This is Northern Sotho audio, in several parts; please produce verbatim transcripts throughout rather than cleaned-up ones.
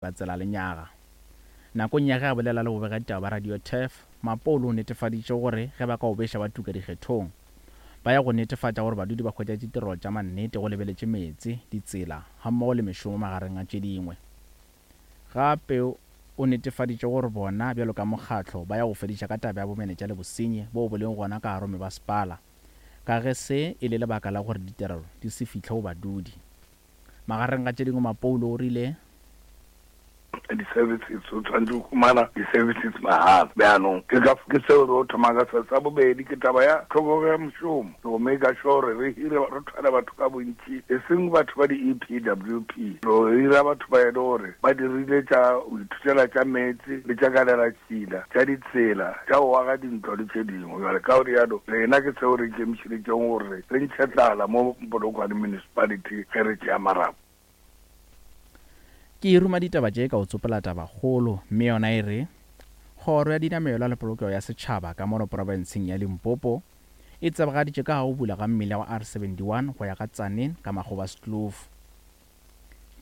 Ba tsela lenyaga. Nakong ya ge a bolela le bobegaditaba ba Radio Turf, Mapolo o netefaditše gore ge ba ka obeša ba tuka dikgethong, ba ya go netefatša gore badudi ba hwetša ditirelo tša mannete go lebeletše meetse, ditsela gammogo le mešomo magareng a tše dingwe. Gape o netefaditše gore bona bjalo ka mokgatlo ba ya go fediša ka taba ya bomenetša le bosenyi boo bo lego gona ka gare go mebasepala ka ge se e le lebaka la gore ditirelo di se fihle go badudi. Magareng ga tše dingwe Mapolo o rile di-services o tshwanetse go humana di-services mahala. Bjanong ke ka ke seo re o thoma ka se. Sa bobedi ke taba ya tlhokego ya mošomo, go make sure re hire, re thwale batho ka bontši, e seng batho ba di-E P W P, re hira batho ba e le gore ba dirile tša go ithutela tša meetse le tša kaleratšhila, tša ditsela, tša go aga dintlo le tše dingwe. Jale ka gore yalo rena ke seo re ikemišeditšeng gore re ntšhe tlala mo Polokwane Municipality ge re tšea marapo. Ke ruma ditaba tše ka o tsopola tabakgolo, mme yona e re Kgoro ya Dinamelwa le Polokego ya Setšhaba ka mono profenseng ya Limpopo e tsebagaditše ka go bula ga mmila wa R seventy-one go ya ka Tzaneen ka Magoebaskloof.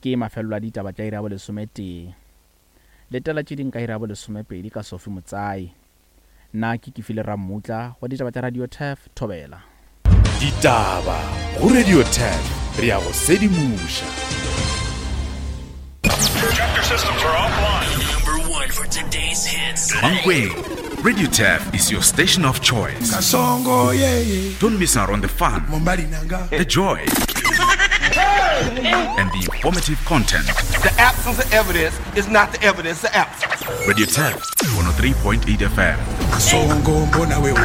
Ke mafelelo a ditaba tša iri ya bolesometee. Letela tše ding ka iri ya bolesomepedi ka Sophie Motsai. Nna ke Kefile Rammutla wa ditaba tša Radio Turf. Thobela. Ditaba go Radio Turf, re ya go sedimoša. Chapter systems are offline. Number one for today's hits. Mankweng, Radio Turf is your station of choice. Kasongo yeah. Don't miss out on the fun, Mombali nanga. The joy, and the informative content. The absence of evidence is not the evidence of absence. Radio Turf, one oh three point eight F M. Kasongo mbona wewe.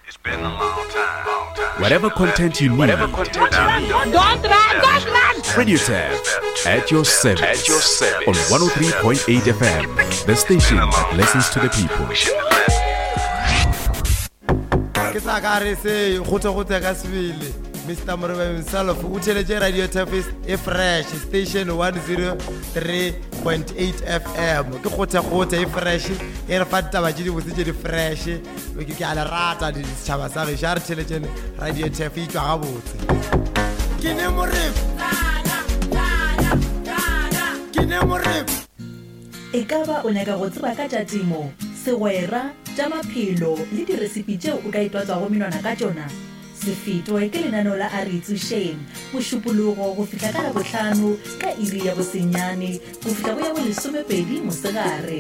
It's been a long time. Long time. Whatever content you need, Whatever content you need. Don't run, don't run! Radio Turf at your service. At your service. On one oh three point eight F M, the station that listens to the people. We shouldn't have left. Ke sa ka re se gote-gote ka sebele. Mister Morebe himself o theletše Radio Turf e fresh, station one oh three point eight F M ke gote-gote e fresh, e re fa ditaba tše dibotse tše di fresh. Ke ke a le rata setšhaba sa gešo, a re theletšene Radio Turf, e tšwa gabotse. Ke ne Morebe, ke ne Morebe. E ka ba o nyaka go tseba ka tša temo, segwera, tša maphelo le diresipi tšeo o ka itwatswago menwana ka tšona? Se fetwe ke lenaneo la A Re Itsošeng, Mošupologo go fihla ka Labohlano ka iri ya bosenyane go fihla go ya bolesomepedi mosegare.